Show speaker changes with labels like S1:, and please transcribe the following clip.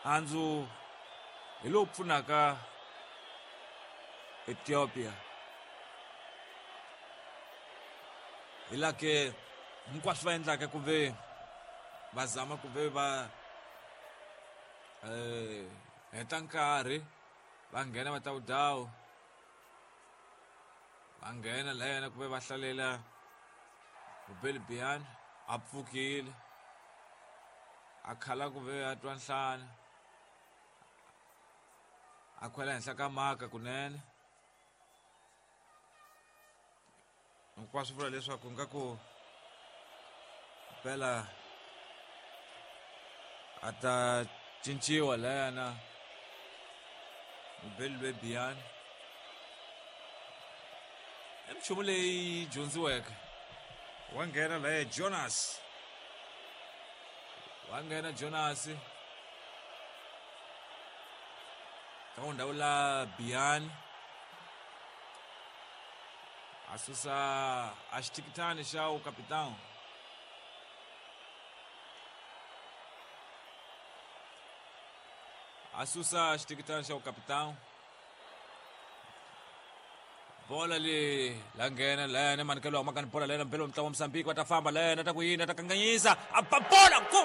S1: Handzu hi lowu pfunaka Ethiopia. Hi la ke hinkwaswo va endlaka ku ve va zama ku ve va eh heta nkarhi va nghena va ta wudawu va nghena layana ku ve va hlalela Mubeli Biyani a pfukile a khala ku ve a twa nhlana a khwela henhla ka maka kunene hinkwaswo vula leswaku nga ku mpela a ta cinciwa layana mubeli lwe biyani i minchumu leyi dyondziweke wa nghena laye Jonas wa nghena Jonas ka ndhawu la Biyani a susa a xitikitani xa ukapitão a susa xitikitani xa ukapitão bola le la nghena lena manikelo wa makani bola lena mpelo mutlangi wa Mozambique va ta famba lena ta ku yini ta kanganyisa a ba bola go.